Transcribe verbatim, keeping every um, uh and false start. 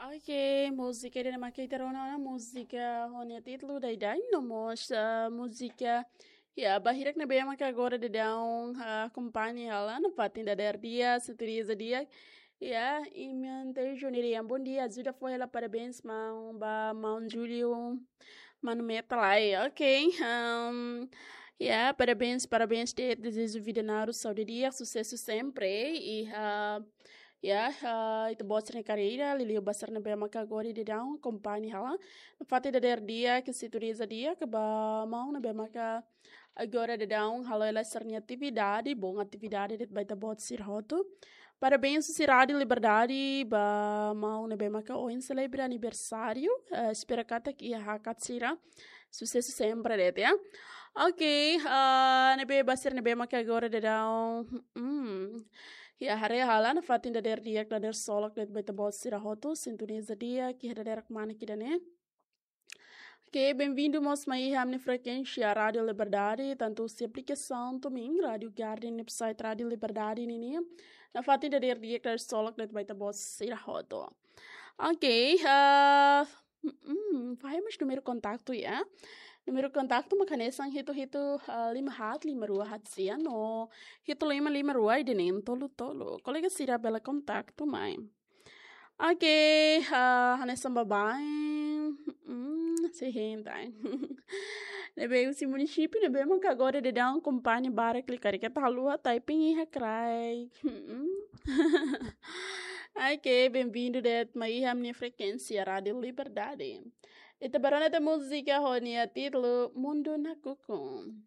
Ok, múzika ida-ne'e mak ita rona ona, múzika ho nia títulu Daidai, no mós, ah, múzika, ya, ba hirak ne'ebé maka agora daudaun, ah, akompaña hela nafatin dadeer di'ak, sintoniza di'ak. Ya, imi-nia Júnior, bom dia, ajuda fó hela parabéns maun, ba maun Júlio, manu Meta lai, ok? Ahm, ya, parabéns, parabéns de'it, dezeja vida naruk, saúde di'ak, susesu sempre, i, ah, ya, ah, ita-boot sira-nia karreira, liuliu ba sira ne'ebé maka agora daudaun akompaña hela nafatin dadeer di'ak, sintoniza di'ak, ba maun ne'ebé maka agora daudaun halo hela sira-nia atividade, bom atividade de'it ba ita-boot sira hotu. Parabéns husi Rádiu Liberdade ba maun ne'ebé maka ohin selebra aniversáriu. Eh, espera katak iha hakat sira susesu sempre de'it, ya. Ok, ah, ne'ebé ba sira ne'ebé maka agora daudaun, hmm, ya, haree hela nafatin dadeer di'ak, dadeer solok de'it ba ita-boot sira hotu, sintoniza di'ak iha dadeer kmanek ida-ne'e. Ok, bem-vindo mós mai iha ami-nia frekuénsia Rádiu Liberdade, tantu husi aplikasaun TuneIn, Rádiu Garden, website Rádiu Liberdade ninian, nafatin dadeer di'ak, dadeer solok de'it ba ita-boot sira hotu. Ok, ah, mm, fahe mós númeru kontaktu, ya. Númeru kontaktu mak hanesan hitu hitu, ah, lima haat lima rua haat sia no hitu lima lima rua ida neen tolu tolu. Kolega sira bele kontaktu mai. Ok, ah, hanesan baibain, mm, sei hein tan. Ne'ebé husi munisípiu ne'ebé maka agora daudaun akompaña barak liu, karik ita haluha typing iha kraik. Mm. Ok, bem-vindo de'it mai iha ami-nia frekuénsia Rádiu Liberdade. Ita bá rona tiha múzika ho nia títulu Mundu Nakukun.